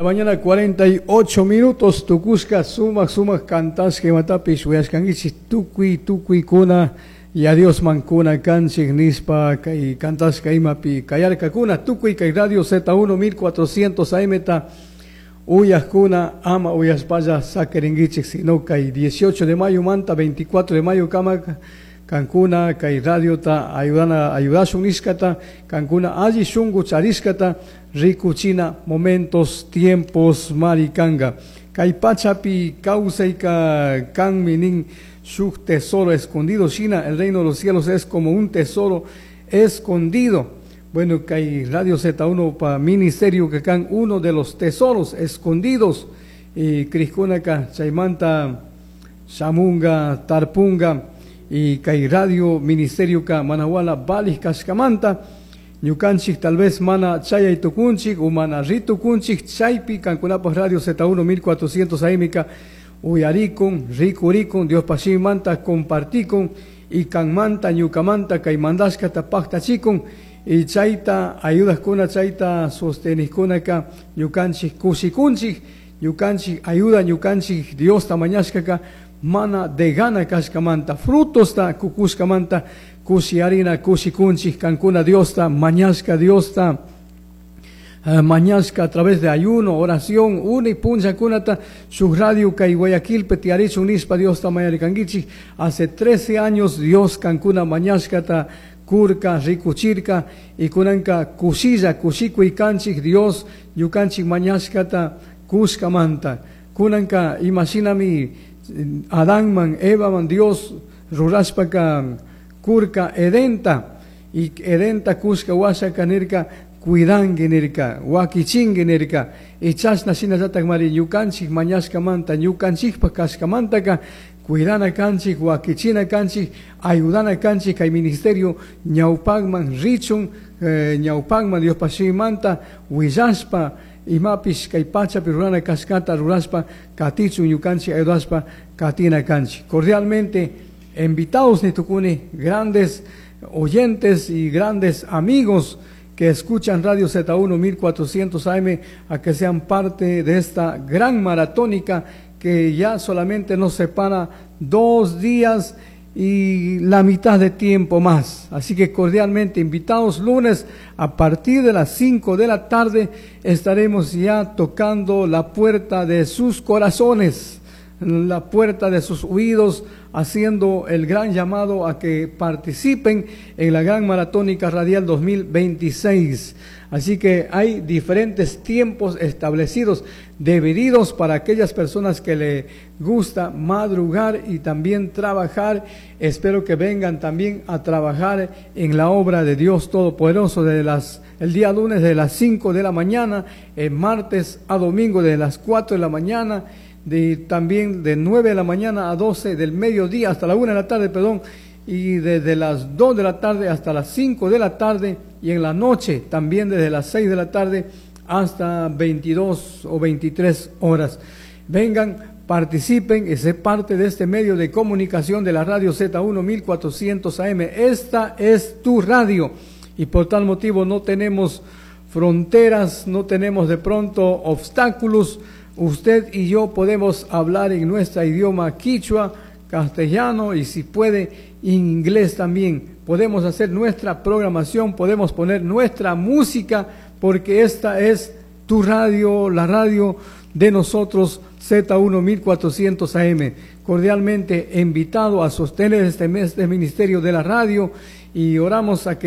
La mañana 48 minutos tukushka sumak sumak kantashka imatapish uyashkankichik tukuy tukuykuna Yaya Diosman kuna kanchik nishpa kay kantashka imapi kayarkakuna tukuy kay radio Z1 1400 AM ta uyajkuna ama uyashpalla sakirinkichik sino kay 18 de mayo manta 24 de mayo kama kankuna kay radiota ayudana ayudashun nishkata kankuna alli shunku charishkata rikuchina momentos tiempos marikanga kay pachapi kawsayka kanmi nin shuk tesoro escondido shina el reino de los cielos es como un tesoro escondido. Bueno, kay Radio Z1 pa ministerio que kan uno de los tesoros escondidos y crijkunaka chaymanta shamunga tarpunga y kay radio ministerio ka manawala valij kashkamanta ñukanchik tal vez mana chayay tukunchik o mana ritukunchik chaypi kankunapaj radio Z1 1400 AM ka uyarikun rikurikun Diospaj shimimanta compartikun y kanmanta ñukamanta kay mandashkata paktachikun y chayta ayudajkuna chayta sostenijkunaka ñukanchik kushikunchik ñukanchik ayuda ñukanchik Diosta mañashkaka mana degana kashkamanta frutosta kukushkamanta kushiyarina kushikunchik kankuna Diosta mañashka Diosta mañashka a través de ayuno, oración, uni punllakunata shuk radio kay Guayaquilpi tiyarichun nishpa Diosta mañarikankichik hace 13 años Dios kankuna mañashkata kurka rikuchirka y kunanka kushilla kushikuy kanchik Dios ñukanchik mañashkata kushkamanta kunanka imashinami Adánman Evaman Dios rurashpaka kurka Edenta y Edenta kushka washaka nirka cuidanki nirka wakichinki nirka y chashna shinallatak mari ñukanchik mañashkamanta ñukanchikpak kashkamantaka cuidana kanchik wakichina kanchik ayudana kanchik kay ministerio ñawpakman richun ñawpakman Diospaj shimimanta willashpa imapish kay pachapi rurana kashkata rurashpa katichun ñukanchik ayudashpa katina kanchik. Cordialmente invitados nitukuni grandes oyentes y grandes amigos que escuchan Radio Z1 1400 AM a que sean parte de esta gran maratónica que ya solamente nos separa 2 días y la mitad de tiempo más. Así que cordialmente invitados, lunes a partir de las 5 de la tarde estaremos ya tocando la puerta de sus corazones, la puerta de sus oídos, haciendo el gran llamado a que participen en la gran maratónica radial 2026. Así que hay diferentes tiempos establecidos, divididos para aquellas personas que le gusta madrugar y también trabajar. Espero que vengan también a trabajar en la obra de Dios Todopoderoso desde el día lunes de las 5 de la mañana, el martes a domingo de las 4 de la mañana, también de 9 de la mañana a 12 del mediodía, hasta la 1 de la tarde, perdón, y desde las 2 de la tarde hasta las 5 de la tarde, y en la noche también desde las 6 de la tarde hasta 22 o 23 horas. Vengan, participen y sé parte de este medio de comunicación de la radio Z1 1400 AM. Esta es tu radio y por tal motivo no tenemos fronteras, no tenemos de pronto obstáculos. Usted y yo podemos hablar en nuestro idioma quichua, castellano y si puede inglés también. Podemos hacer nuestra programación, podemos poner nuestra música, porque esta es tu radio, la radio de nosotros, Z1 1400 AM. Cordialmente invitado a sostener este mes de Ministerio de la Radio y oramos a que